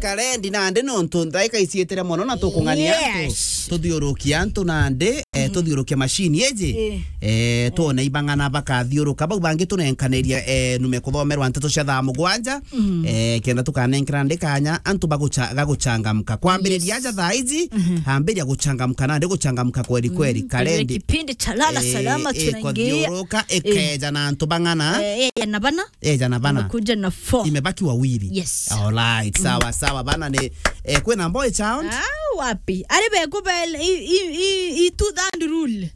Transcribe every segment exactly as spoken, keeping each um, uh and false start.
Karendi nandi nontu ndaika iciitire mono na tukung'ania antu. Yes. Tuthiurukie antu nandi, eh, tuthiurukie machine iji. Eh. Eh, twone ibang'ana bakathiuruka. Bau bangi tunenkanirie, eh, nume kuthomerwa nteto cia thaa mugwanja. Eh, kenda tukanenkera ndi kanya antu bagucha-, gaguchangamka. Kwambiriria aja thaa iji, ambiria guchangamka nandi guchangamka kweli kweli. Karendi. Kipindi cha lala salama tunaingia. Ikothiuruka, ikeja na antu bang'ana. Eh, eh, na bana. Eja na bana. Imekuja na four. Imebaki wawili. Yes. Alright, sawa, sawa, bana ni, eh, kwina boy child? Ah, wapi? Ari be kubel i, i, i, i two third rule.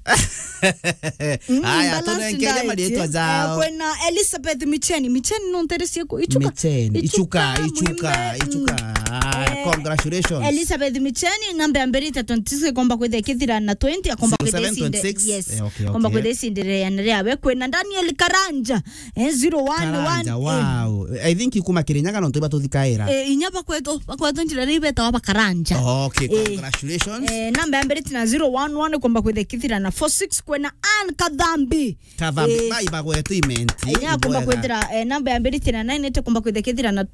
Aya, imbalance tunenkeje diet, marietwa jao. Kwina Elizabeth Micheni. Micheni no ntere ciaku? Ichuka. Micheni. Ichuka, ichuka, mwimbe, ichuka. Ah, congratulations. Elizabeth Micheni, namba ya mbere ita twenty-six, komba kwithia kithira na twenty, akomba kwithia isinde. Zero seven twenty-six? Yes. Eh, okay, okay. Komba kwithia isinde ria, ria we. Kwina Daniel Karanja. Eh, zero one one, Karanja, eh. Wow. I think ikuma Kirinyaga nontu iba tuthikaira. Eh, inya bakwetu, bakwetu njira ri betawa ba Karanja. Oh, okay, eh, congratulations. Eh, namba ya mbere tina zero one one, komba kwithia kithira na four six, kwina Ann Kathambi. Kathambi, eh, bai bagwetu imenti. Inya komba kwithira, eh, namba ya mbere tina nine, ite komba kwithia kithira na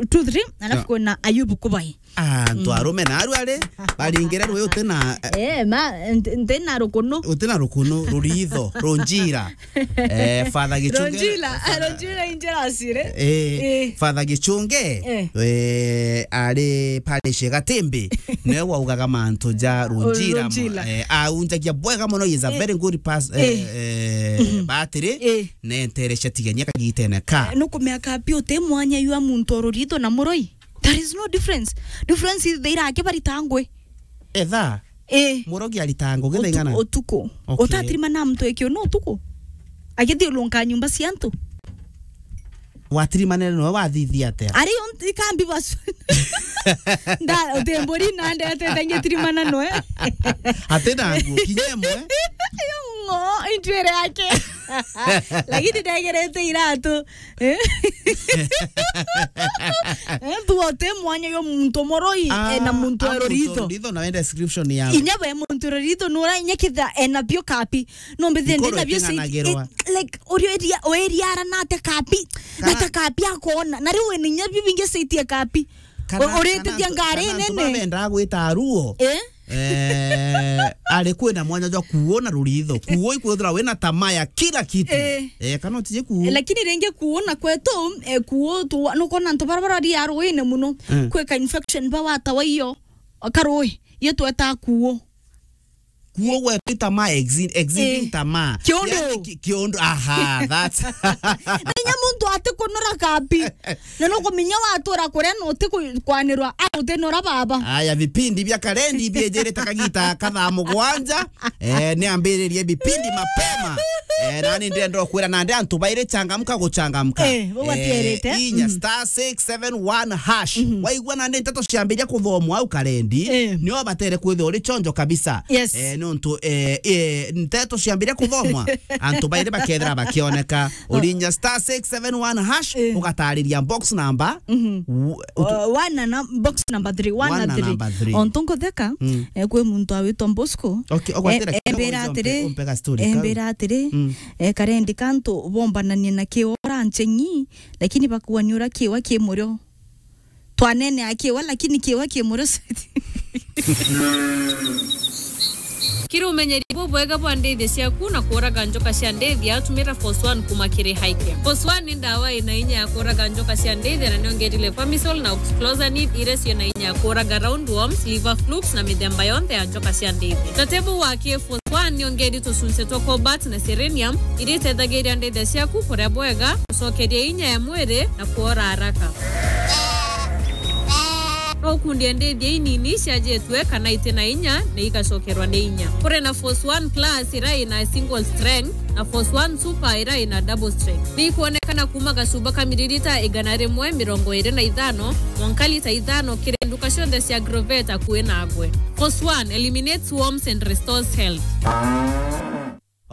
two three, alafu kwina Ayubu Kubai. Ah, antu arume na aru ari, baringire rwi uti na, eh, ma, nti-, nti na rukunu. Uti na rukunu, ruritho, runjira. Eh, Father Gichunge, Runjira, Father, Runjira injira asire. Eh, eh. Father Gichunge, eh, eh, ari parish Gatimbi, niwe waugaga mantu ja Runjira, Runjira. Eh, aunjagia bwega mono, he is a, eh, very good pas-, eh, eh, eh, batiri, eh, nenterecia tigania kagitene ka. Eh, nukumea kapi uti mwanya yua muntu o ruritho na muroi? There is no difference. Difference is they irake barita ngwe. Etha. Eh. Murogi arita ngwe githa ing'ana? Utuku. Okay. Utatirima na mtu ekio no utuku. Agithiurunka nyumba cia antu. Watirimanire noe wathithia atia? Ari on-, ikambi basu. Nda, utembori na ndete tangi tirimana noe. Ati na nguo, kinya imwe? Ngo, intwire yake. Lakini ndegerete iratu. Eh? Eh, tu ote mwanya yo muntu moroi, ah, eh, na muntu a muntu ororitho. Ororitho na wenda description yao. Inya we muntu ororitho nura inya kitha ena bio kapi. No mbithe ndi na bio siti, eh, like, orio eria, o eria ara na te kapi. Na ta kapi akona. Na riu ni inya bio bingi siti kapi. Kana, o-, urete kana dia antu, ngari kana antu nene. Babendaga gwita aruo. Eh? Eh, ari kwina mwanya jwa kuona ruritho. Kuo ikwithira wina tamaa ya kila kitu. Eh. Eh, kana utije kuo. Eh, lakini ringi kuona kwetu, eh, kuo tu, nukona antu bara bara ria ruine muno. Mm. Kwika infection ba watawa iyo. Karui, iyo tweta kuo. Kuo gwetu tamaa exi-, exceeding, eh, tamaa. Kiondo. Yani ki-, kiondo, aha, that's. Na inya muntu ati kunura kapi. Na nukumenya watura kuria na uti ku-, kwanirwa, a, utinura baba. Aya, vipindi bia Karendi biejirite kagita ka thaa mugwanja. Eh, ni ambiririe vipindi mapema. Eh, nani ndenda kwira nandi antu bairi changamka guchangamka. Eh, bo batierite. Eh, inya star six seven one hash. Mhm. Waigua nandi nteto ciambiria kuthomwa au Karendi, eh, nio batere kwithirwa uri chonjo kabisa. Yes. Eh, nontu, eh, eh, nteto ciambiria kuthomwa, antu bairi bakethira bakioneka. Urinya star six seven one hash, eh, ugatariria box number. Mhm. U-, utu- Uh, one na num-, box number three, one na three. One na number three. Ontu nkutheka, mm, eh, kwi muntu awitwa Bosco. Okay, ogwatira eh, kidogo embira njo mpe-, atiri, umpega story kau. Embira atiri, mm, eh, Karendi kantu bombananie na kiora ncheng'i, lakini bakuani ura kiwa ki murio. Twanene akiwa, lakini kiwa ki murio. Kiri umenyeri bubwega bwa ndithia ciaku na kuraga njoka cia ndithia, tumira Force One kuma kiri Highcare. Force One ni ndawa ina inya ya kuraga njoka cia ndithia na niongerile Pamisol na Oxclosanid, iria ciina inya ya kuraga roundworms, liver flukes na mithemba yonthe ya njoka cia ndithia. Tatebu wa ki Force One niongeri tucunce twa cobalt na selenium, iria itethagiria ndithia ciaku kuria bwega, gucokeria inya ya mwiri na kwora haraka. No ukundie ndithia inini ciajitwe kana iti na inya na igacokerwa ni inya. Kuri na Force One Plus iria ina single strength na Force One Super iria ina double strength. Ni ikwonekana kuma gacuba ka miririta igana rimwe mirongo iri na ithano mwanka lita ithano kiri nduka cionthe cia Agrovet akui nagwe. Force One eliminates worms and restores health.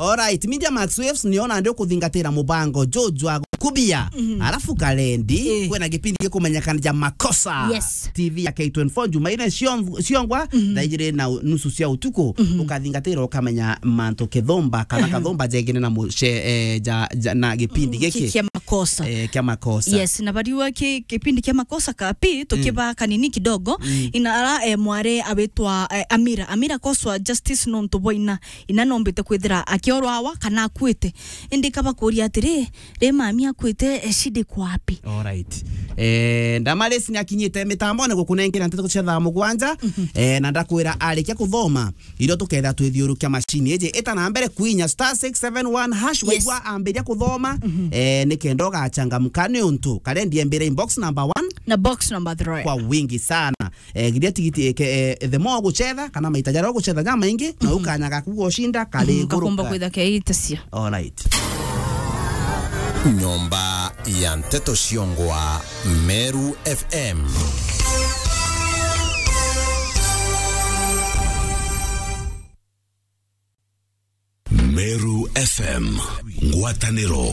Alright, Media Max Waves niona ndi ukuthingatira mubango juju wa gukubia. Mhm. Alafu Kalendi, Eh. kwina gipindi gikumenyekana ja Makosa. Yes. T V ya K twenty-four Jumaine cio-, ciongwa, Mhm. thaa ijiri na u-, nusu cia utuku, Mhm. ukathingatira ukamenya mantu kithomba, kana Mhm. kathomba jegine na muce-, eh, ja, ja, na gipindi Mm, giki. ki-, kia Makosa. Eh, kia Makosa. Yes, na bariwa ki-, kipindi kia Makosa kapi, tukiba Mm. kanini kidogo, Mm. ina ara, eh, mware awitwa, eh, Amira. Amira koswa justice nontu bwa ina. Ina nombite kwithira akiorwawa kana akuite. Indi kabakuria atiri, ri mami akuite, eh, shida iko wapi? Alright. Eh, Damaris ni akinyite mitambone gukunengera nteto cia thaa mugwanja. Mhm. Eh, na ndakwira arikia kuthoma, irio tuketha twithiurukia machine iji. Ita na mbere kwinya star six seven one hash, Yes. waigua ambiria kuthoma, Mhm. eh, ni kenda ugachangamka ni untu. Kalendi embire inbox number one. Na box number three. Kwa wingi sana. Eh, giria tigiti, eh, ke-, eh, the more uguchetha, kana maita jaria uguchetha jamaingi, na Mhm. ukanya gaku gushinda kari Mhm, iguru gakumba ka- kwitha keitacia. Alright. Nyomba ya nteto ciongwa Meru F M. Meru F M, ngwataniro.